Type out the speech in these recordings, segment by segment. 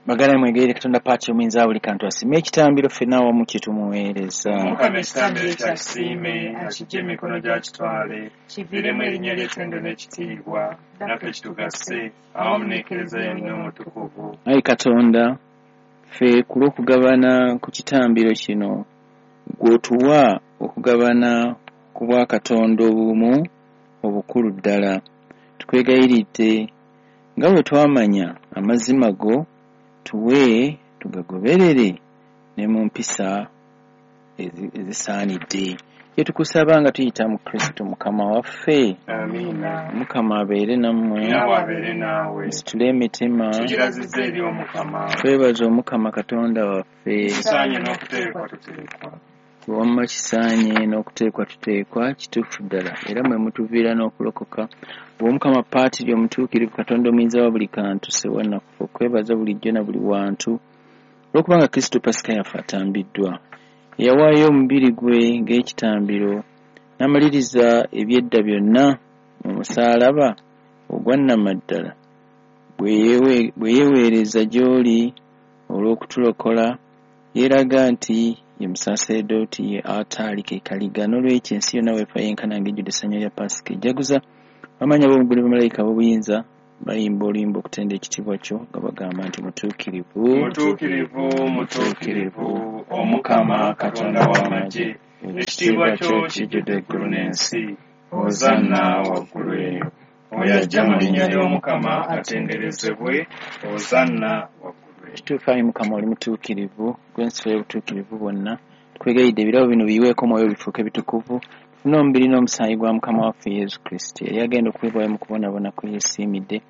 Baganda mwegayirire Katonda Paati omuyinza buli kantu asiime ekitambiro ffenna awamu kye tumuweereza. Omukama ekitambiro ekyo akisiime, akiggye mu mikono gye akitwale, kiviiremu erinnya lye ettendo n'ekitiibwa, naffe kitugase, awamu n'Ekereziya yonna omutukuvu. Ayi Katonda, ffe ku lw'okugabana ku kitambiro kino, ggwe otuwa okugabana ku bwakatonda obumu obukulu ddala. Tukwegayiridde nga bwe twamanya amazima go, tuwe tugagoberere ne mu mpisa ezisaanidde. Kye tukusaba nga tuyita mu Kristo Mukama waffe. Amiina. Mukama abeere nammwe. Naawe abeere naawe. Musitule emitima. Tugirazizza eri Omukama. Twebaze Omukama Katonda waffe. Kisaanye n'okuteekwa tuteekwa. Wamma kisaanye n'okuteekwa tuteekwa, kituufu ddala, era mwe mutuviira n'okulokoka. Bw'Omukama Paatiri omutuukirivu Katonda omuyinza wa buli kantu, Ssewannakufa, okwebaza bulijjo na buli wantu, olw'okubanga Kristo Pasika yaffe atambiddwa. Eyawaayo omubiri gwe ng'ekitambiro, n'amaliriza eby'edda byonna mu musaalaba ogwa nnamaddala, bwe yeeweereza gy'oli olw'okutulokola, yeeraga nti ye musaseredooti ye alutaari ke kaliga. N'olwekyo ensi yonna weefa yenkana ng'ejjudde essanyu lya Pasika ejaguza. Bamaanyi ab'omu ggulu ne bamalayika ab'obuyinza bayimba oluyimba okutenda ekitiibwa kyo nga bagamba nti mutuukirivu. Mutuukirivu, mutuukirivu, Omukama Katonda w'amagye, ekitiibwa kyo kijjudde eggulu n'ensi. Hosanna waggulu eyo. Oyo ajja mu linnya ly'Omukama atenderezebwe. Hosanna waggulu eyo. Kituufu ayi Mukama oli mutuukirivu, ggwe nsulo y'obutuukirivu bwonna. Tukwegayiridde ebirabo bino biyiweeko omwoyo bifuuke bitukuvu, tufune omubiri n'omusaayi gwa Mukama waffe Yesu Kristo. Yali agenda okuweebwayo mu kubonaabona kwe yeesiimidde,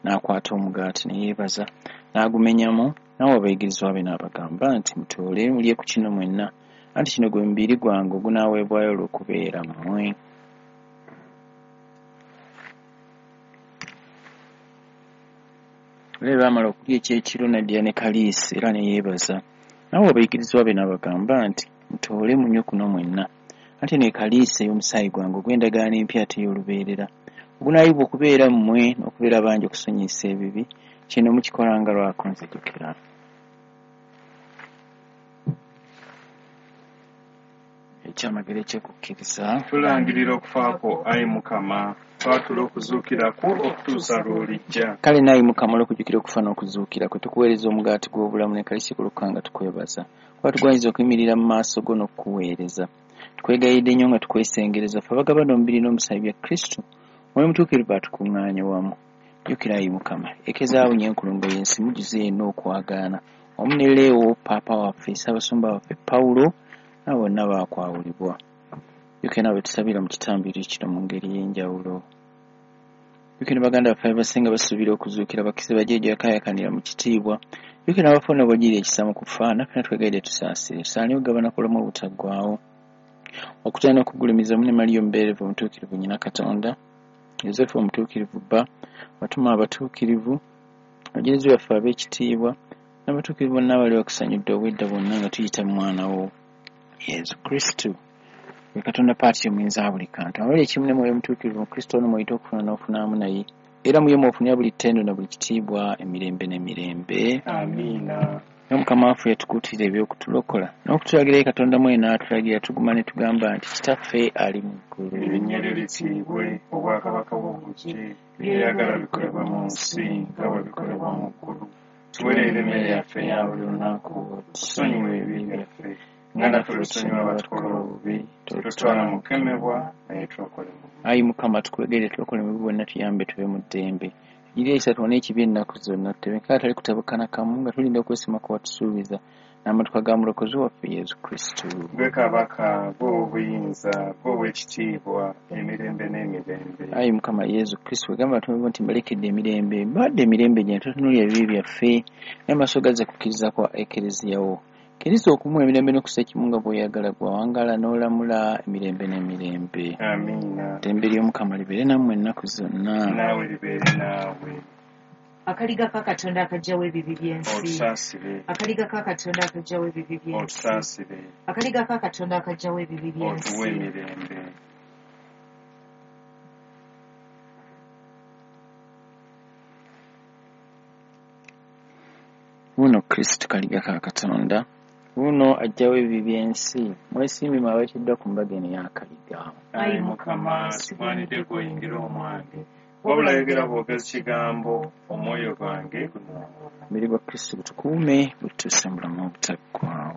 n'akwata omugaati ne yeebaza, n'agumenyamu, n'awa abayigirizwa be n'abagamba nti, mutoole mulye ku kino mwenna, anti kino gwe mubiri gwange ogunaaweebwayo olw'okubeera mmwe. Era bwe baamala okulya ekyekiro n'addira ne kaliisi era ne yeebaza, n'awa abayigirizwa be n'abagamba nti, mutoole munywe kuno mwenna, anti eno ye kaliisi ey'omusaayi gwange ogw'endagaano empya ate ey'olubeerera, ogunaayibwa okubeera mmwe n'okubeera bangi okusonyiyisa ebibi. Kino mukikolanga lwa kunzijukira. Ekyamagero eky'okukkiriza. Tulangirira okufa kwo, ayi Mukama, twatula okuzuukira kwo okutuusa lw'olijja. Kale naayi Mukama, olw'okujjukira okufa n'okuzuukira kwe, tukuweereza omugaati gw'obulamu ne kaliisi golokoka nga tukwebaza. Kuba tugwanyiza okuyimirira mu maaso go n'okukuweereza. Tukwegayiridde nnyo nga tukwesengereza, ffe abagabana omubiri n'omusaayi bya Kristo, Omwoyo Omutuukirivu atukuŋŋaanye wamu. Jjukira ayi Mukama, ekezaawunya enkulungo y'ensi mujjuze yenna okwagaana, wamu ne Leewo Paapa waffe, Ssaabasumba waffe Pawulo, n'abo bonna baakwawulibwa. Jjukira nabo be tusabira mu kitambiro kino mu ngeri ey'enjawulo. Jjukira ne baganda baffe abasinga basuubira okuzuukira, bakkirize bajje gy'akaayakanira mu kitiibwa. Jjukira n'abafu n'obagirira ekisa mu kufa, naffe natwegayiridde tusaasire, tusaanye okugabana ku bulamu obutaggwaawo. Okutya n'okugulumiza wamu ne Mariya omubeerevu omutuukirivu nnyina Katonda, Yosefu omutuukirivu bba, abatume abatuukirivu, abajulizi baffe ab'ekitiibwa, n'abatuukirivu bonna abali bakusanyudde obwedda bwonna nga tuyita mu mwana wo Yesu Kristo. Ye Katonda Paati omuyinza wa buli kantu, abali ekimu ne Mwoyo Omutuukirivu mu Kristo ono mw'oyita okufuna n'ofunaamu naye, era mu ye mw'ofunira buli ttendo na buli kitiibwa emirembe n'emirembe. Amiina. N'Omukama waffe yatukuutira eby'okutulokola n'okutulagira ye Katonda mwene n'atulagira tuguma ne tugamba nti Kitaffe ali mu ggulu. Erinnya lyo litiibwe, obwakabaka bwo bujje, by'oyagala bikolebwe mu nsi nga bwe bikolebwa mu ggulu. Tuweerere emmere yaffe eya buli lunaku, tusonyiwe ebibi byaffe nga naffe bwe tusonyiwa abatukola obubi, totutwala mu kukemebwa, naye tulokole mu bubi. Ayi Mukama, tukwegerere tulokole mu bibi bwonna, tuyambe tube mu ddembe. Tugirire ekisa tuwone ekibi ennaku zonna, tutebeke atali kutabukana kamu nga tulinda okwesiima kwe watusuubiza n'amatuka ga Mulokozi waffe Yesu Kristo. Ggwe Kabaka, ggwe ow'obuyinza, ggwe ow'ekitiibwa, emirembe n'emirembe. Ayi Mukama Yesu Kristo, wegamba abatume bo nti mbalekedde emirembe, mbawadde emirembe gyange, totunuulira ebibi byaffe, naye amaaso gazze kukkiriza kwa Ekereziya wo. Kkiriza okumuwa emirembe n'okussa ekimu nga bw'oyagala, ggwe awangaala n'olamula emirembe n'emirembe. Amiina. Eddembe ly'Omukama libeere nammwe ennaku zonna. Naawe libeere naawe. Akaliga ka Katonda akaggyawo ebibi by'ensi. Otusaasire. Akaliga ka Katonda akaggyawo ebibi by'ensi. Otusaasire. Akaliga ka Katonda akaggyawo ebibi by'ensi. Otuwe emirembe. Wuuno Kristo kaliga ka Katonda, wuuno aggyawo ebibi by'ensi. Mwesiimye mmwe abayitiddwa ku mbaga eno ey'akaliga. Ayi Mukama, sigwanidde gw'oyingira omwange, wabula yogera bwogezi kigambo, omwoyo gwange gunaawona. Omubiri gwa Kristo gutukuume, gututuuse mu bulamu obutaggwaawo.